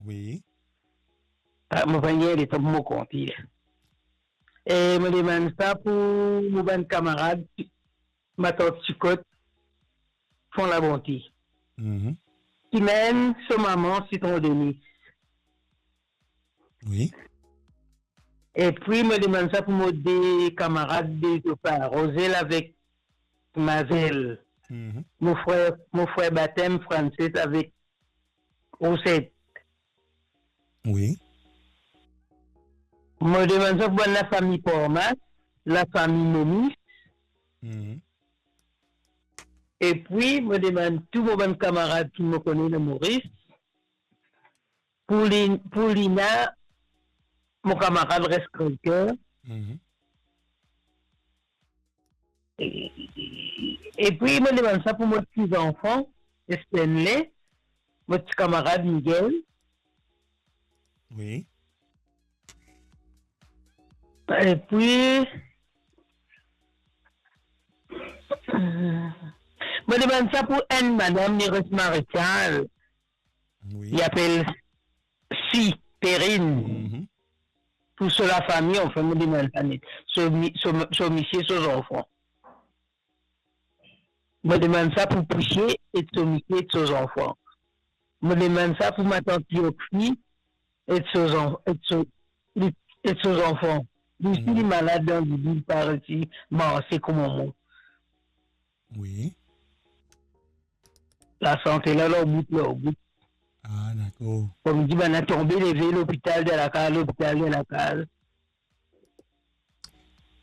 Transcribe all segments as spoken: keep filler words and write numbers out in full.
Wi. Ah, mo pa gagn letan pou mo konte. E mo demann sa pou mo bann kamarad, matant Tikot, Fon Labonte. Mhm. Ki mem so mama Sitron Denis. Wi. Epi mo demann sa pou mo de kamarad de zopar, Rozel avek Mazel. Mhm. Mo frer, mo frer batem Francis avek Roset. Wi. Mo demann sa pou bann lafami Pormas, lafami Momis. Mhm. Epi mo demann tou mo bann kamarad ki mo kone dan Moris, pou Lin-, pou Lina, mo kamarad res krèker. Mhm. E, epi mo demann sa pou mo ti zanfan, Stanley, mo ti kamarad Miguel. Wi. Epi, mo demann sa pou enn madam, li res Marechal. Wi. Li apel Si Perrine. Mhm. Pou so lafami, anfin, mo demann sa net. So mi-, so, so misie, so zanfan. Mo demann sa pou Pousie e so misie e so zanfan. Mo demann sa pou matant Yoksi e so zan-, e so, li, e so zanfan. Li osi, li malad dan li, li pa resi marse kouma mwa. Wi. Lasante la, lor bout, lor bout. Ah, dakor. Kouma dir, bann la tonbe, leve, lopital, dan lakaz, lopital, dan lakaz.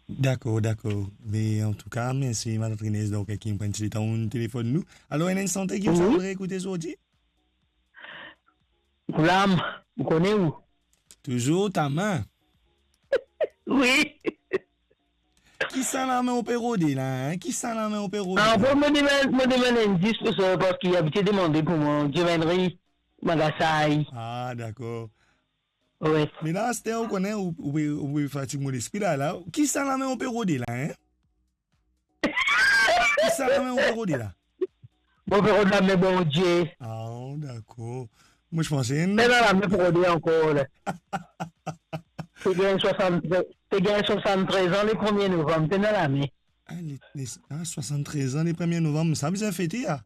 Dakor, dakor. Me antouka, mersi, Matant Inez, donk, ki pran ti letan telefonn nou. Alor, ena enn sante ki ou ti wi. Aimé ekoute zordi? Goulam, ou kone ou? Touzour ta main. Wi. Ki sa lame ou pe rode la, hein? Ki sa lame ou pe rode la? Ah, bon, mo demann, mo demann enn dis pou sa, parski li abitie demande pou mwa, Dieu Henry, Magasay. Ah, dakor. Wi. Me la, aster ou kone, ou, ou pe, ou pe fatig mo lespri la, la. Ki sa lame ou pe rode la, hein? Ki sa lame ou pe rode la? Mo pe rod lame Bondie. Ah, dakor. Mo ti panse enn... Pena lame pou rode ankor la. Pe gagn swasanntrez, pe gagn swasanntrez an le premie novam, pena lame. Ah, le, le, ah, swasanntrez an le premie novam, sa bizin fete, ya.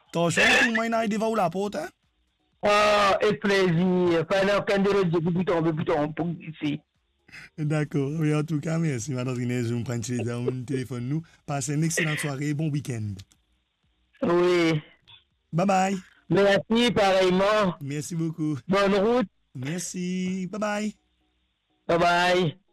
Atansion, pou mwa, inn ariv devan ou laport, hein? Ah, ek plezir. Pena okenn de lot die ki pou tonbe, pou tonbe, pou glise. Dakor. Wi, antouka, mersi, Matant Inez, ou pran ti letan telefonn nou. Pas enn exelan sware, bon wikenn. Wi. Bye bye. Mersi, pareyman. Mersi boukou. Bonn rout. Mersi. Bye bye. Bye bye.